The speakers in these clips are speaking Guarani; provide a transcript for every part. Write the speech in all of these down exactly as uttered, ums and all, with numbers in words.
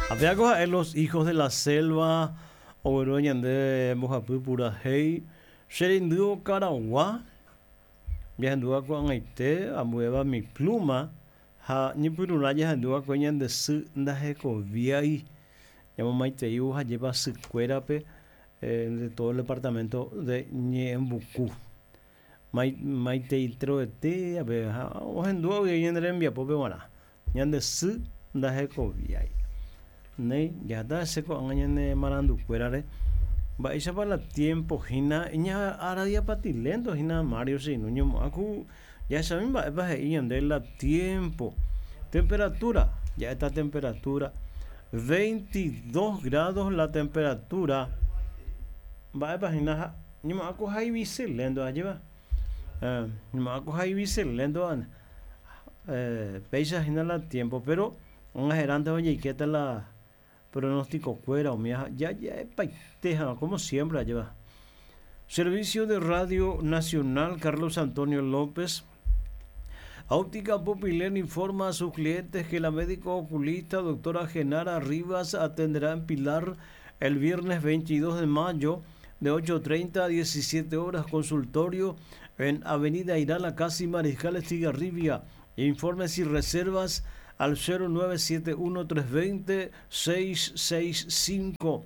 Apeako ha'e Los Hijos de la Selva ogueru ñande mbohapy purahéi che reindy okaragua jahendúva ko'ag̃aite ambuéva Mi Pluma ha ñepyrũrã jahendúva'ekue ñande sy ndahekoviái ñamomaiteívo hajépa sykuérape de todo el departamento de Ñe'ẽmbuku maiteitrovete ape ha ohendúva guive ñane rembiapópe g̃uarã ñande sy ndahekoviái néi jahata hese ko'ág̃a ñane marandukuérare mba'éichapa la tiempo hína iñaradiapatilento hína Mario che irũ ñemo'ã ku jahechami mba'épa he'i ñande la tiempo temperatura ja'éta temperatura veintidós grados la temperatura mba'épa hína ha ñemo'ã ku haiviselento ajépa ñemo'ã ku haiviselento péicha hína la tiempo pero og̃aherãnte ojeikéta la pronóstico-kuéra umi ja'epaite ha como siempre ajépa. Servicio de Radio Nacional Carlos Antonio López. Óptica Pupilén informa a sus clientes que la médico oculista doctora Genara Rivas atenderá en Pilar el viernes veintidós de mayo de ocho treinta a diecisiete horas, consultorio en Avenida Irala, casi Mariscal Estigarribia. Informes y reservas al cero nueve siete uno tres veinte seis seis cinco.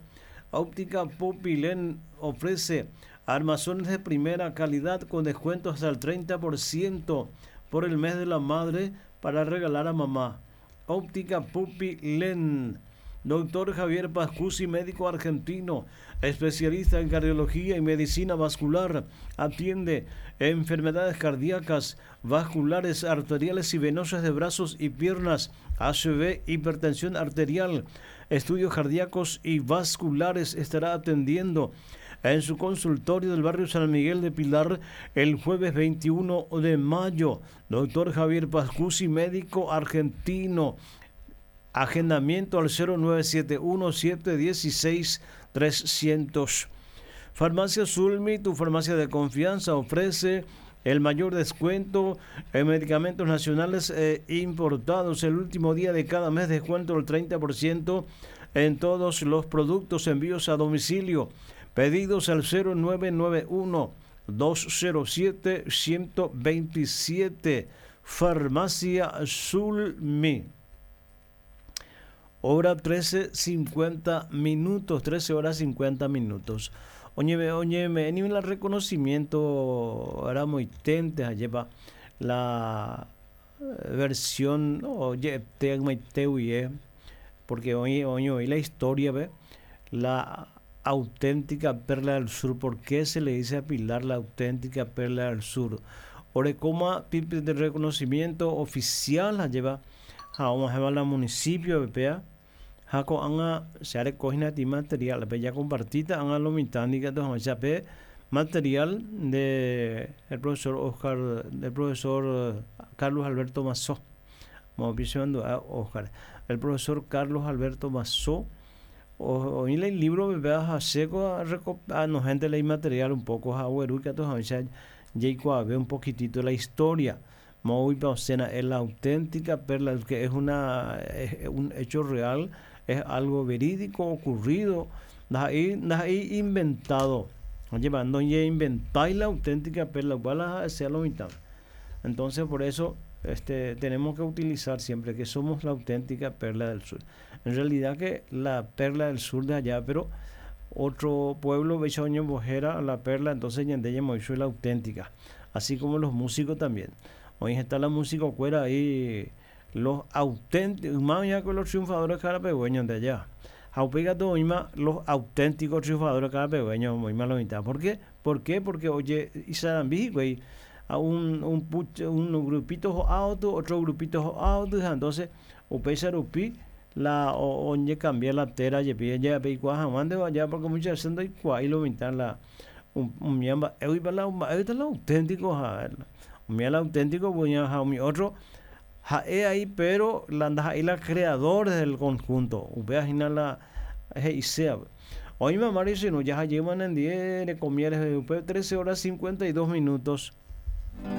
Óptica Pupilén ofrece armazones de primera calidad con descuento hasta el treinta por ciento por el mes de la madre para regalar a mamá. Óptica Pupilén. Doctor Javier Pascucci, médico argentino, especialista en cardiología y medicina vascular, atiende enfermedades cardíacas, vasculares, arteriales y venosas de brazos y piernas, A C V, hipertensión arterial, estudios cardíacos y vasculares. Estará atendiendo en su consultorio del barrio San Miguel de Pilar el jueves veintiuno de mayo. Doctor Javier Pascucci, médico argentino. Agendamiento al cero nueve siete uno siete dieciséis trescientos. Farmacia Zulmi, tu farmacia de confianza, ofrece el mayor descuento en medicamentos nacionales e importados. El último día de cada mes, descuento del treinta por ciento en todos los productos, envíos a domicilio. Pedidos al cero nueve nueve uno dos cero siete ciento veintisiete. Farmacia Zulmi. Hora trece cincuenta minutos, trece horas cincuenta minutos. Oñeme, oñeme, ni el reconocimiento era muy tente, lleva la versión, oye, te te huye, porque hoy, hoy, hoy la historia, ve, la auténtica perla del sur. ¿Por qué se le dice a Pilar la auténtica perla del sur? Orecoma, pipe de reconocimiento oficial, la lleva. Vamos a llevar al municipio de P A. Jaco anga se haré cogina ti material, pe ya compartita anga lo mitad ni que entonces, ya pe material de el profesor Oscar, del profesor Carlos Alberto Mazó. Vamos pisando a Oscar. El profesor Carlos Alberto Mazó. O, hoy el libro me vea a seco a reco-, a no gente leí material un poco a hueru que entonces, ya, ya ve un poquitito la historia. Muy Pausena es la auténtica perla, que es una, es un hecho real, es algo verídico ocurrido, ahí, ahí inventado. Oye, no ya inventáis la auténtica perla, igual a sea lo mitad. Entonces, por eso, este, tenemos que utilizar siempre que somos la auténtica perla del sur. En realidad que la perla del sur de allá, pero otro pueblo, Bechoño, Bojera, la perla, entonces Ñandeye Moisés la auténtica, así como los músicos también. Hoy está la música cuera ahí, los auténticos, más allá que los triunfadores carapegüeños de allá. Jaupega todo misma, los auténticos triunfadores carapegüeños, muy malo mitad. ¿Por qué? ¿Por qué? Porque, oye, y Sarambí, güey, a un, un puch, un grupito auto, otro grupito auto, entonces, o pesa rupi, la, o, oye, cambia la tera, ye pide, ya, pe, igual, jamás de allá, porque muchas veces no hay cuá, y lo mitad la, un, un miamba, eh, uy, pa, la, un, ahí está el auténtico, ja, el, un miamba auténtico, pues, ya, ja, mi otro, ja, he ahí, pero la anda ahí la creador del conjunto, upea jina la, je, y sea. Hoy mamá dice, no, ya llevan en diez, le comieres, upe, trece horas cincuenta y dos minutos.